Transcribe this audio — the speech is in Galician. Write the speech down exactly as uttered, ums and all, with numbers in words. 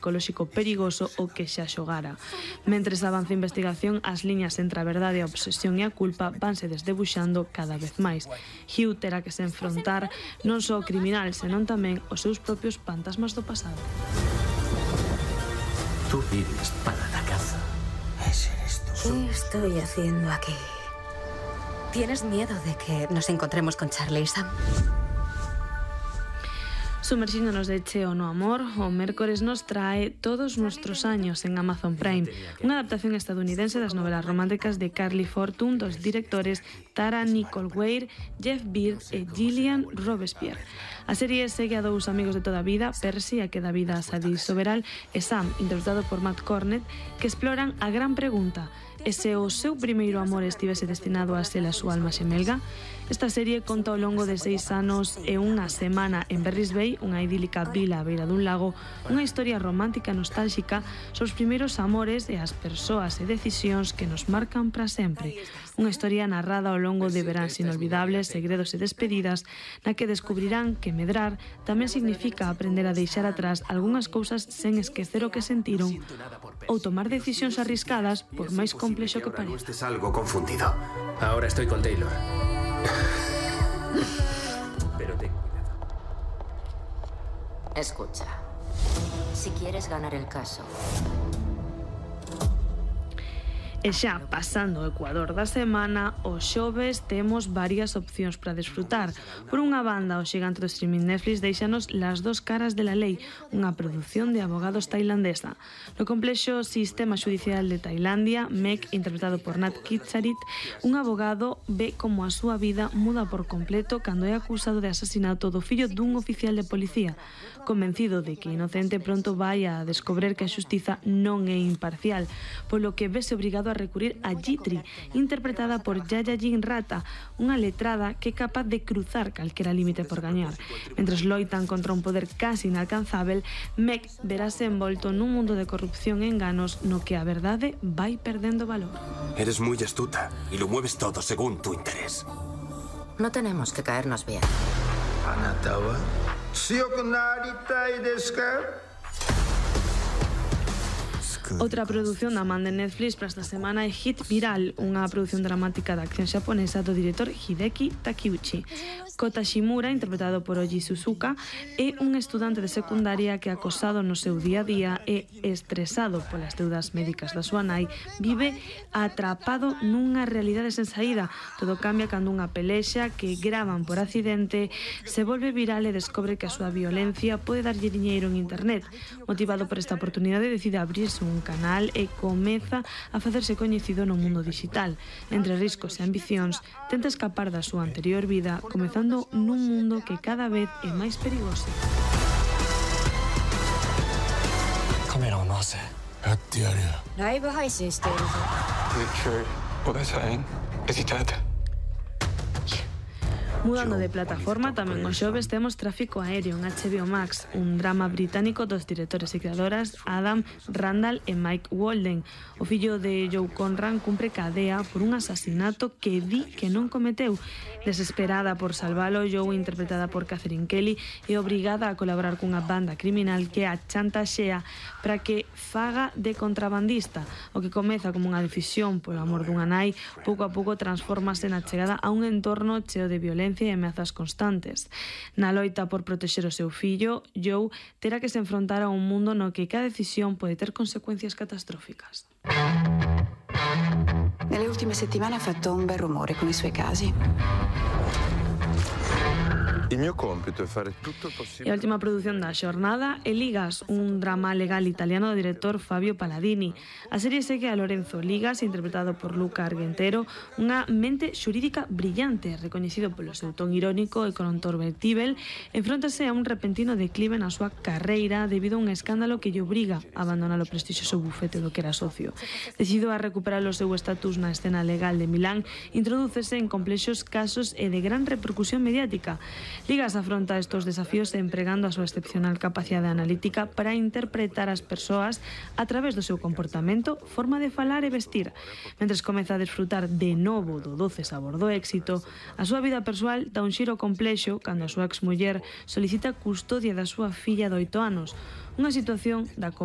psicolóxico perigoso o que xa xogara. Mentres avanza a investigación, as liñas entre a verdade, a obsesión e a culpa vanse desdebuxando cada vez máis. Hugh terá que se enfrontar non só ao criminal, senón tamén os seus propios fantasmas do pasado. Tú vives para la caza. Ese eres tú. ¿Qué estoy haciendo aquí? ¿Tienes miedo de que nos encontremos con Charlie y Sam? Sumerxíndonos de cheo no amor, o mércores nos trae Todos nuestros años en Amazon Prime, unha adaptación estadounidense das novelas románticas de Carly Fortune dos directores Tara Nicole Weir, Jeff Beard e Gillian Robespierre. A serie segue a dous amigos de toda a vida, Percy, a que dá vida a Sadie Soberal, e Sam, interpretado por Matt Cornett, que exploran a gran pregunta: e se o seu primeiro amor estivese destinado a ser a súa alma xemelga? Esta serie conta ao longo de seis anos e unha semana en Berries Bay, unha idílica vila a beira dun lago, unha historia romántica e nostálxica sobre os primeiros amores e as persoas e decisións que nos marcan para sempre. Unha historia narrada ao longo de veráns inolvidables, segredos e despedidas, na que descubrirán que medrar tamén significa aprender a deixar atrás algunhas cousas sen esquecer o que sentiron ou tomar decisións arriscadas por máis complexo que pareza. No estés algo confundido. Ahora estoy con Taylor. Pero ten cuidado. Escucha, si quieres ganar el caso... E xa pasando o Ecuador da semana, os xoves temos varias opcións para desfrutar. Por unha banda, o xigante do streaming Netflix deixanos Las dos caras de la lei, unha produción de abogados tailandesa. No complexo sistema xudicial de Tailandia, Meg, interpretado por Nat Kitsarit, un abogado ve como a súa vida muda por completo cando é acusado de asasinato do fillo dun oficial de policía. Convencido de que inocente, pronto vai a descobrir que a xustiza non é imparcial, polo que vese obrigado a recurrir a Jitri, interpretada por Yaya Jin Rata, unha letrada que é capaz de cruzar calquera límite por gañar. Mentres loitan contra un poder casi inalcanzável, Meg verase envolto nun mundo de corrupción e enganos no que a verdade vai perdendo valor. Eres muy astuta y lo mueves todo según tu interés. No tenemos que caernos bien. Anatawa. ¿Sioku naritai desu ka? Outra produción da man de Netflix para esta semana é Hit Viral, unha produción dramática de acción xaponesa do director Hideki Takeuchi. Kota Shimura, interpretado por Oji Suzuka, é un estudante de secundaria que, acosado no seu día a día e estresado polas deudas médicas da súa nai, vive atrapado nunha realidade sen saída. Todo cambia cando unha pelexa que gravan por accidente se volve viral e descobre que a súa violencia pode darlle diñeiro en internet. Motivado por esta oportunidade, decide abrirse un canal e comeza a facerse coñecido no mundo digital. Entre riscos e ambicións, tenta escapar da súa anterior vida, comezando nun mundo que cada vez é máis perigoso. Kameraを回せ。やってやるよ。ライブ配信しているぞ。 Richard, what is saying? Is he dead? Mudando de plataforma, tamén os xoves temos Tráfico Aéreo en H B O Max, un drama británico dos directores e creadoras Adam Randall e Mike Walden. O fillo de Joe Conran cumpre cadea por un asasinato que di que non cometeu. Desesperada por salvalo, Joe, interpretada por Catherine Kelly, é obrigada a colaborar cunha banda criminal que a chantaxea para que faga de contrabandista. O que comeza como unha decisión polo amor dunha nai, pouco a pouco transformase na chegada a un entorno cheo de violencia e ameazas constantes. Na loita por protexer o seu fillo, Joe terá que se enfrontar a un mundo no que cada decisión pode ter consecuencias catastróficas. Nelle ultime settimane ha fatto un bel rumore con i suoi casi. Il mio compito è fare tutto il possibile. E a última produción da xornada é Ligas, un drama legal italiano do director Fabio Palladini. A serie segue a Lorenzo Ligas, interpretado por Luca Argentero, unha mente xurídica brillante, recoñecido polo seu ton irónico e controvertível, enfróntase a un repentino declive na súa carreira debido a un escándalo que lle obriga a abandonar o prestixioso bufete do que era socio. Decidido a recuperar o seu estatus na escena legal de Milán, introdúcese en complexos casos e de gran repercusión mediática. Ligas afronta estos desafíos empregando a súa excepcional capacidade analítica para interpretar as persoas a través do seu comportamento, forma de falar e vestir. Mentres comeza a desfrutar de novo do doce sabor do éxito, a súa vida persoal dá un xiro complexo cando a súa exmuller solicita custodia da súa filla de oito anos, unha situación da que